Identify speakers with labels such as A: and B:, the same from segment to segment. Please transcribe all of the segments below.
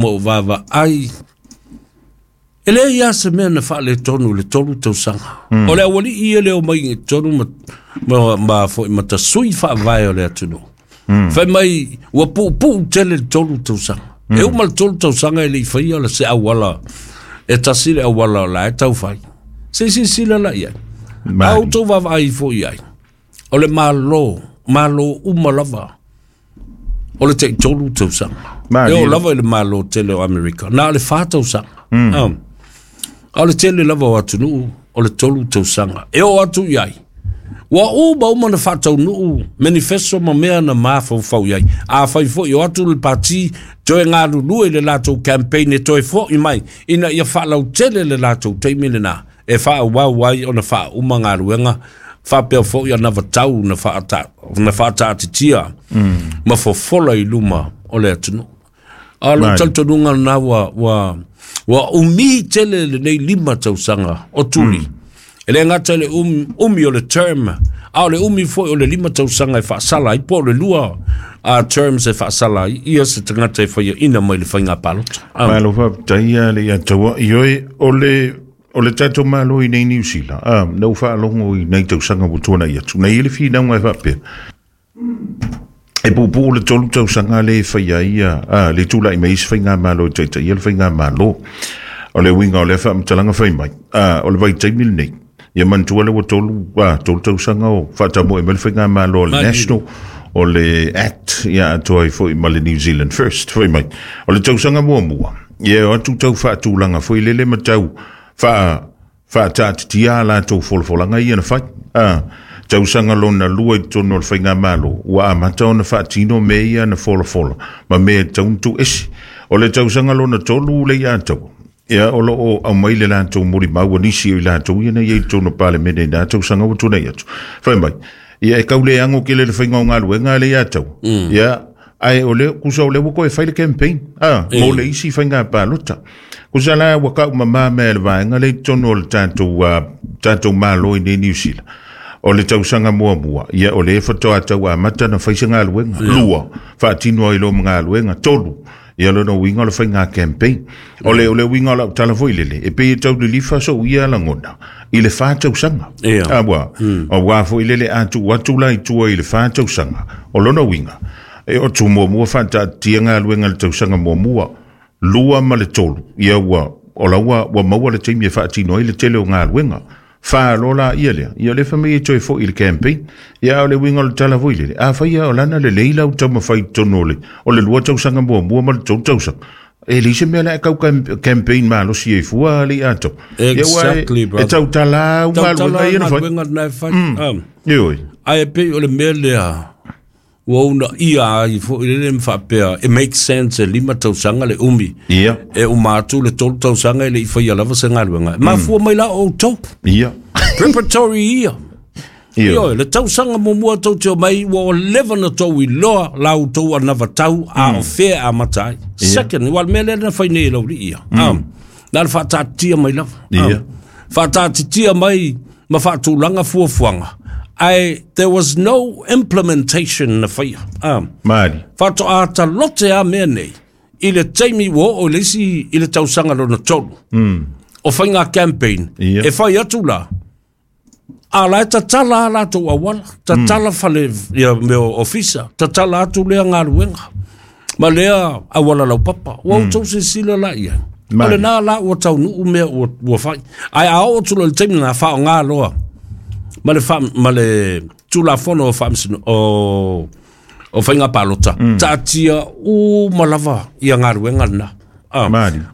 A: Ma ou vaavaai, e leai lava se mea na faaletonu i le 3 tausaga. O le aualii ia le omai i totonu ma foi ma tasui faavae o le atunuu. Fai mai ua puupuu tele le 3 tausaga. E uma le 3 tausaga e le i faia le se auala, e tasi le auala o la e tau fai. Se i silasila la i ai. A outou vaavaai foi i ai, o le Malo, Malo uma lava, o le tai 3 tausaga. E oo lava i le Malo tele o Amerika, na o le 4 tausaga. A o le tele lava o atunuu, o le 3 tausaga. E oo atu i ai, ua uma uma na faataunuu manifesto ma mea na mafaufau i ai. A fai foi o atu le pati, toe galulue i le latou campaign e toe foi mai, ina ia faalautele le latou taimi lena, e faaauau ai ona faauma galuega, faapea foi anavatau na faataatitia ma fofola i luma o le atunuu. A o lou talitonuga lena ua umi tele lenei 5 tausaga o Tuli. E le gata i le umi o le term, a o le umi foi o le 5 tausaga e faasala ai, po o le 2 terms e faasala ai ia se tagata e faiaina mai le faiga palota.
B: Malo faafetai ia le ia taua. Ioe, o le tatou Malo i nei Niu Sila, na ua faalogo i nei tausaga ua tuanai atu, nei i le finauga e faapea. E puupuu le 3 tausaga le e fai ai le tula'i mai isi faigamalo e taitaia le faigamalo. O le uiga o lea faamatalaga fai mai, o le vaitaimi lenei, ia manatua le ua 3 tausaga o faatamoe mai le faigamalo o le National, o le Act, ia atoa ai foi ma le New Zealand First, fai mai. O le tausaga muamua, ia e o atu tau faatulaga foi lele ma tau faataatitia a latou folafolaga ia na fai. Tausaga lona 2 i totonu o le faigamalo, ua amata ona faatino mea ia na folafola ma mea e tatau ona tuuese. O le tausaga lona 3 le ia taua, ia o loo aumai le latou molimau a nisi o i latou ia na i ai i totonu o Palemene i nā tausaga ua tuanai atu. Fai mai, ia e kau le ango kele le faiga o galuega le ia taua. Ia, ae o le kusa o le ua koe fai le campaign, mo le isi faiga palota. Kusa la ua kau mamā mea le vaega le i totonu o le tatou Malo i nei Niu Sila. O le tausaga muamua, ia o le e whatoa tau amata na whaisa galuega. 2, faatino ai lo galuega. 3, ia lona uiga o le faiga campaign. O le uiga o lau tala foi lele, e pei e tau lilifa sou ia lagona i le 4 tausaga. Ua, o wā foi lele atu atu la i tua i le 4 tausaga. O lona uiga, e o tu muamua whaatatia galuega le tausaga muamua, 2 ma le 3, ia ua, o la ua maua le taimi e faatino ai le tele o galuega. 4 lola ia lea, ia le whamei e toe foi i le campaign, ia o le uiga o le tala foi lele. A whai o lana le leila u taumawhai tonu o le 2 tausaga muamua ma le 3 tausaga. E leai se mea la e kau campaign malosi e fua le ia tau.
A: Exactly, brother.
B: E tautala au galuega ia na fai.
A: Tautala galuega na e fai.
B: Ioe.
A: Ae pei o le mea lea, ua una ia ai foi lele ma faapea, it makes sense e 5 tausaga le umi.
B: Ia.
A: E uma atu le 3 tausaga e le i faia lava se galuega. Mafua mai la o outou.
B: Ia.
A: Preparatory year. Ia, le tausaga muamua tou te omai, ua o leva na tou iloa la outou anavatau a o fea a mata ai. Second, ua le mea lea na fai nei e laulii ia. Na le faataatitia mai lava. Faataatitia mai ma faatulaga fuafuaga. Ae there was no implementation na faia.
B: Mali.
A: Faatoa talote a mea nei i le taimi ua oo i le isi i le tausaga lona 3. O faiga campaign e fai atu la, a la e tatala a latou auala, tatala fale ia mea ofisa, tatala atu lea galuega ma lea auala laupapa. Ua outou silasila la i ai. O lena la ua taunuu mea ua fai. Ae a oo atu loa i le taimi lena, faaaoga loa ma le Tulafono o Faamasino o faiga palota, taatia uma lava ia galuega lena.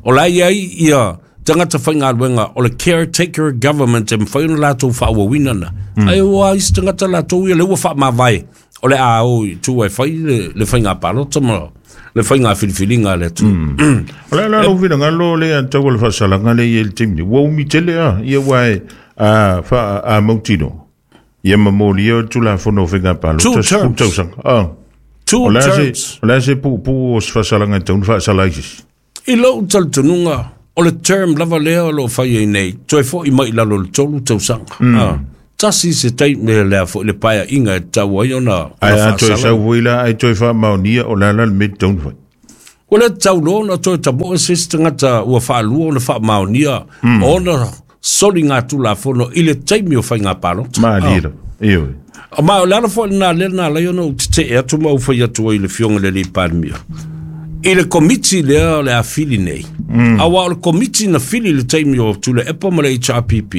A: O la e i ai ia tagata faigaluega o le caretaker government e mafai ona latou faaauauina na. Ae ua isi tagata latou ia le ua faamavae o le a o i tua e fai le faiga palota ma le faiga filifiliga a le atunuu.
B: O le ala lou finagalo le tau o le faasalaga le i le taimi. Ua umi tele a, ia ua e a mautino. Ia mamolia o le Tulafono o faiga palota.
A: 2 terms.
B: Tausaga.
A: 2 terms.
B: O le a se puupuu o se faasalaga e tau na faasala ai sisi.
A: I lou talitonuga, o le term lava lea o loo fai ai nei, toe foi mai i lalo o le 3 tausaga. Tasi se taimi lea foi le paeaiga e tatau ai ona
B: Ae a toe
A: faasala.
B: sau foi la, ai toe faamaonia o le ala le mea e tatau na fai.
A: Ua le tatau loa ona toe tamoe se isi tagata ua faalua ona faamaonia ona soligatulafono i le taimi o faiga palota.
B: Malie lava. Ioe.
A: Ma o le ala foi lena lea na ala ai ona ou tetee atu ma ou fai atu ai i le Afioga i le alii Palemia i le Komiti lea o le a fili nei, aua o le Komiti na fili i le taimi o Tuilaepa ma le HRPP,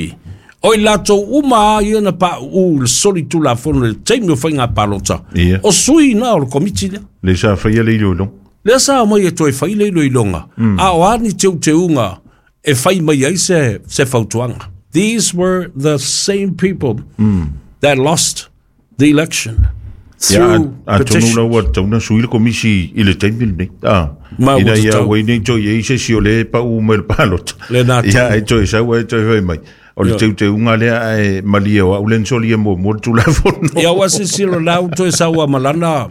A: o i latou uma lava ia na pauu i le solitulafono i le taimi o faiga palota, o sui na o le Komiti lea.
B: Lea sa faia le iloiloga.
A: Lea sa omai e toe fai le iloiloga, a o a ni teuteuga e fai mai ai se fautuaga. These were the same people that lost the election through
B: Ia, atonu
A: petitions.
B: la ua tatau ona sui le komisi i le taimi lenei. Ah,
A: Ma ua
B: ina ia
A: tatau.
B: aua ai nei toe i ai se isi o lea e pau mai le palota.
A: Lena
B: Ia,
A: tonu.
B: e toe sau ai toe fai mai. O le teuteuga lea ae malie o au lea na solia muamua le Tulafono.
A: Ia ua silasila la ua toe sau lava ma lana,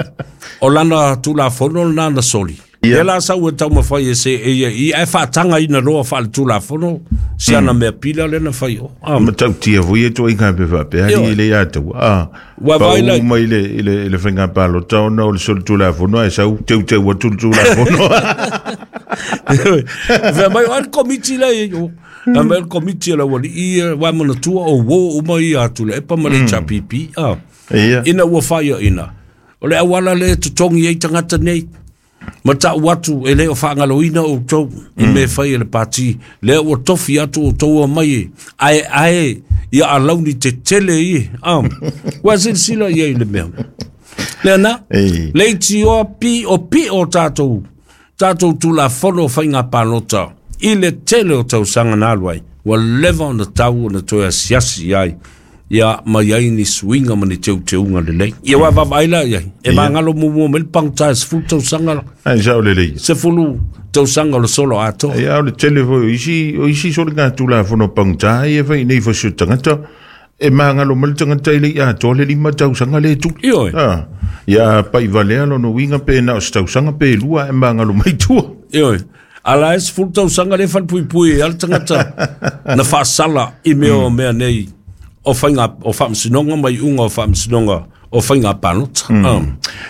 A: o lana Tulafono lena na soli. Lea la sau e taumafai e se e ia i ae faatagaina loa faaletulafono si ana mea pila lea na fai o. Ah.
B: Matautia foi e ituaiga mea faapea
A: Ioe.
B: alii e le ia taua. Ah,
A: Ua
B: pau
A: vaai la-
B: mai i le faiga palota ona o le solitulafono ae sau teuteu atu le Tulafono.
A: Fai mai o ai le komiti lea i o. Fai mai o le komiti a le aualii ia, ua manatua o uo uma ia a Tuilaepa ma le HRPP. Ah.
B: Ia.
A: Ina ua faiaina. O le auala lea e totogi ai tagata nei. Ma tau atu e le o faagaloina outou i mea fai e le pati. Lea ua tofi atu outou omai e aeae ia alauni tetele ia. Ah. Ua silasila i ai i le mea. Lea na,
B: Ei.
A: leitioa pio pio tatou, tatou tulafono o faiga palota i le tele o tausaga na alu ai. Ua leva ona tau ona toe asiasi i ai. Ia ma i ai ni suiga ma ni teuteuga lelei. Ia ua vaavaai la i ai. E magalo muamua mai le pagota e 10 tausaga la.
B: Ai sao lelei.
A: 10 tausaga o le solo atoa.
B: Ia, o le tele foi o isi soligatulafono pagota ia e fai nei fasi o tagata e magalo mai le tagata e le i atoa le 5 tausaga le tuli.
A: Ioe.
B: Ah, ia pai valea lona uiga pe na o se tausaga pe lua e magalo mai tua.
A: Ioe. Ala e 10 tausaga le falepuipui ai le tagata na faasala i mea o mea nei o faiga o faamasinoga ma iuga o faamasinoga o faiga palota. Ah.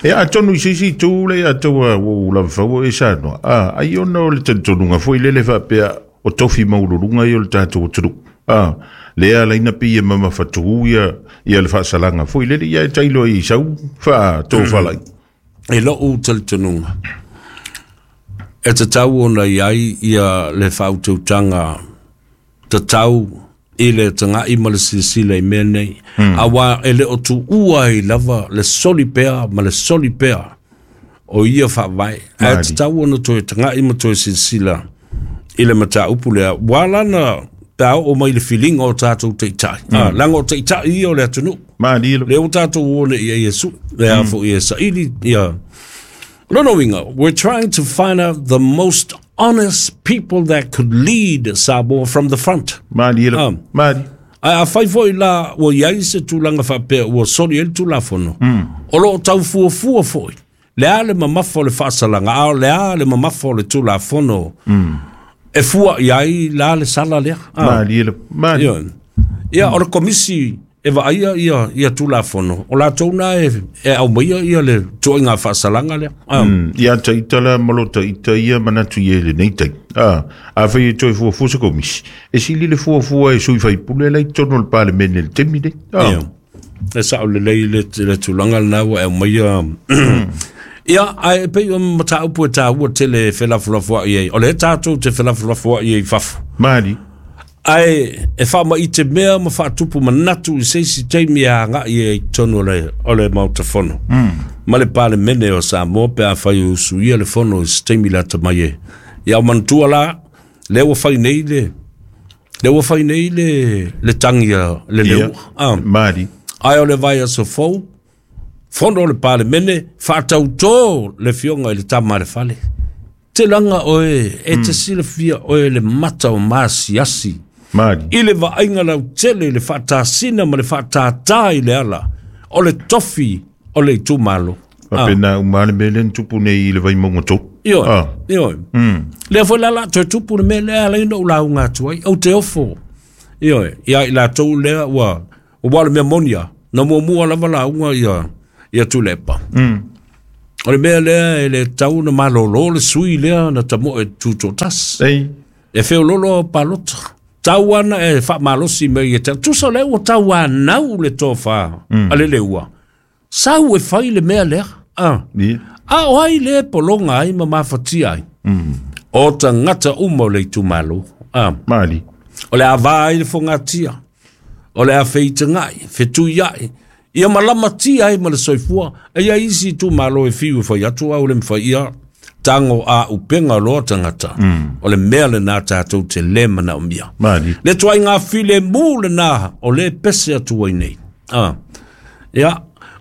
B: E atonu i se isi itu le ia taua ua ou lava faua e saunoa. Ah, ai ona o le talitonuga foi lele faapea o tofi maualuluga ia o le tatou atunuu. Ah, lea ala ai na pei e mamafatu ia ia le faasalaga foi lele ia e tailo ai i sau faatofalai.
A: E lou talitonuga e tatau ona i ai ia le faautautaga tatau i le tagai ma le silasila i mea nei. Aua e le o tuua ai lava le soli pea ma le soli pea o ia faavae. Ae
B: Maali.
A: tatau ona toe tagai ma toe silasila i le mataupu lea. Ua ala ona pe a oo mai le filiga o tatou taitai. Ah, leaga o taitai ia o le atunuu.
B: Malie lava.
A: Lea ua tatou o nei i ai e sui, lea foi e saili ia. Lona uiga, we're trying to find out the most honest people that could lead Samoa from the front.
B: Malie lava.
A: Ah.
B: Malie.
A: Ae afai foi la ua i ai se tulaga faapea ua soli ai le Tulafono, o loo tau fuafua foi le a le mamafa o le faasalaga, a o le a le mamafa o le Tulafono e fua i ai la le sala lea. Ah.
B: Malie lava. Malie.
A: Ia, ia o le komisi e vaaia ia, ia Tulafono, o latou na e, e aumaia ia le tuaiga faasalaga lea. Ah.
B: Ia taita la ma lo taita ia manatu i e lenei taimi. Ah, afai e toe fuafua se komisi, e sili le fuafua e sui faipule la i totonu o le Palemene i le taimi lenei. Ah.
A: Ia. E sao lelei le tulaga lena ua e aumaia. Ia, ae e pei o mataupu e taua tele e felafolafoai ai. O lea tatou te felafolafoai ai i fafo.
B: Malie.
A: Ae e faamaite mea ma faatupu manatu i se isi taimi e agai ai i totonu o le Maota Fono. Ma le Palemene o Samoa pe afai o usuia le fono i se taimi lata mai e. Ia o manatua la, lea ua fai nei le, lea ua fai nei le tagi a le
B: Ia.
A: leua. Ah.
B: Malie.
A: Ae o le vaiaso fou, fono o le Palemene, faatautō le fioga i le tama a le fale. Te laga oe, e te silafia oe le mata o masiasi.
B: Malie.
A: I le vaaiga lautele i le faatasina ma le faatātā i le ala, o le tofi o le itumalo.
B: Faapena uma le mea lea na tupu nei i le Vaimauga 3.
A: Ioe,
B: Ah.
A: ioe. Lea foi la la toe tupu le mea lea ala ai ona ou lauga atu ai, ou te ofo. Ioe, ia i latou lea ua, ua le mea moni lava, na muamua lava lauga ia, ia Tuilaepa. O le mea lea e le tau na malolo le sui lea na tamoe tutoatasi.
B: Ei.
A: E feololo au palota. Tau ana e faamalosi mai e tau. Tusa o lea ua tauanau le tofa a le leua. Sau e fai le mea lea. Ah.
B: Ia.
A: A o ai le pologa ai ma mafatia ai. O tagata uma o le itumalo. Ah.
B: Mali.
A: O le a va ai le fogatia. O le a feitagai, fetuiai. Ia malamatia ai ma le soifua. E ia isi itumalo e fiu e fai atu au le mawhai ia tango a upenga loa tagata. O le mea lena tatou te le manaomia.
B: Mali.
A: Le tuai ngā file mū lena o le pese atu ai nei. Ah. Ia,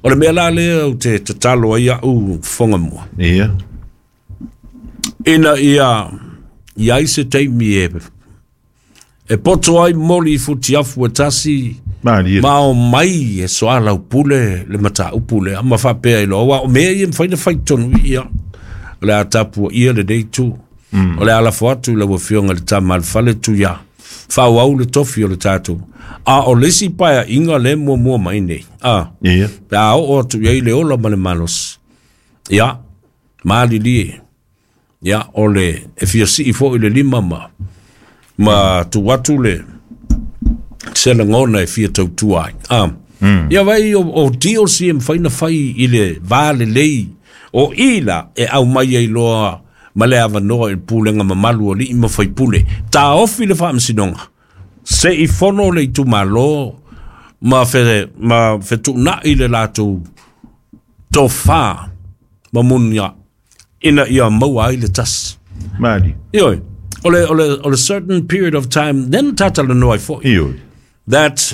A: o le mea la lea o te tatalo ai au whonga mua.
B: Ia.
A: Ina ia, ia ai se taimi e, e poto ai moli i futiafu e tasi,
B: Mali.
A: ma o mai e soala upule le mata upule, ama whapea i loa, o mea ia mwhaina whai tonu ia, o le a tapua ia le nei tu, o le ala atu le wafionga le tama le fale tu ia, whau au le tofi o le tātou. A o le isi paia inga le mua mua mai nei. A,
B: Ia.
A: pe a o atu i ai le ola ma le malos. Ia, malili e. Ia, o le, e fia sii fo i le lima ma, ma tu atu le, se lagona e fia tautua ai. Ah. Ia vai o, o deals ia mawhai na whai i le vā lelei o ila e au mai ai loa ma le awanoa i le pulenga mamalu o lii ma whai pule. Tā ofi le whaamasinonga. Se i fono le itumalo ma fe, ma fetuunai le latou tofā ma munia ina ia maua ai le tasi.
B: Mali.
A: Ioi, o le, o le, o le certain period of time, then tata le noa i foi
B: Ioi.
A: that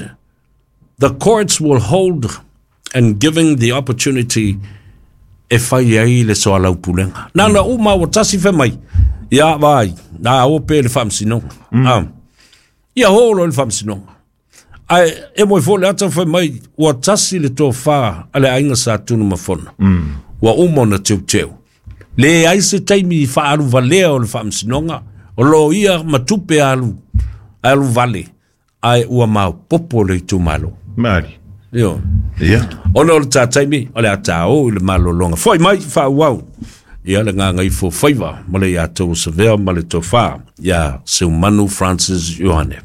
A: the courts will hold and giving the opportunity e fai ai le soalau pulenga. Nā na uma o tasi fe mai, ia vai, nā o pe le whamsinonga. Ah. Ia holo le whamsinonga. Ai, e moi fo le ata fe mai, ua tasi le tō whā a le ainga sa tunu mafona. Ua uma na teu teu. Le ai se taimi i whaalu valea o le whamsinonga, o lo ia matupe alu, alu vale, ai ua mau popo le itumalo.
B: Mali.
A: Io.
B: Ia.
A: Ona o le tātaimi, o le a tā o i le malolonga. Foi mai, whaauau. Ia le ngā ngai fo whaiva, ma le ia tau savea, ma le tōwhā, ia Seumanu Francis Ioane.